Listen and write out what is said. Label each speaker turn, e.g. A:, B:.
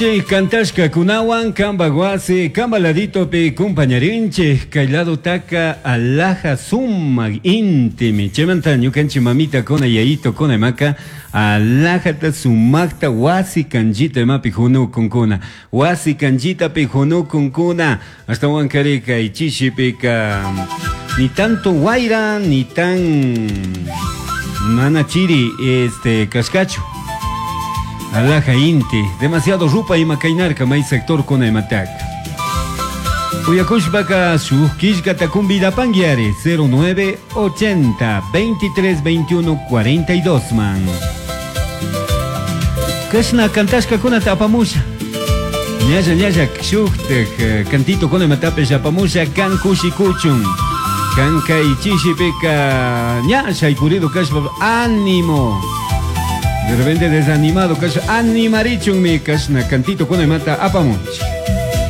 A: Ñucanchij cantashcacunahuan camba huasi, camba laditopi compañarinchij. Cai ladotaca alaja sumaj intimi. Chaymanta ñucanchij mamitacuna, yayitocuna imaca alajata sumajta huasi canllita imapi junucuncuna. Huasi canllitapi junucuncuna. Ashtahuancari cai chishipica ni tanto huaira ni tan mana chiri este cashcachu. Alaja inti, demasiado rupa ima cainarca may sector kuna imataka. Uyakushpaka shuj killkata convidapanguiari 09 80 23 21 42 man. Kashna cantashkakunata apamusha. Ñalla ñalla shujtaj eh, cantito kuna imatapish apamusha kan kushikuchun. Kan kay chishipika ña shaykurido kashpa ánimo. De repente desanimado kashpa animarichunmi kashna cantito kuna imata apamunchik.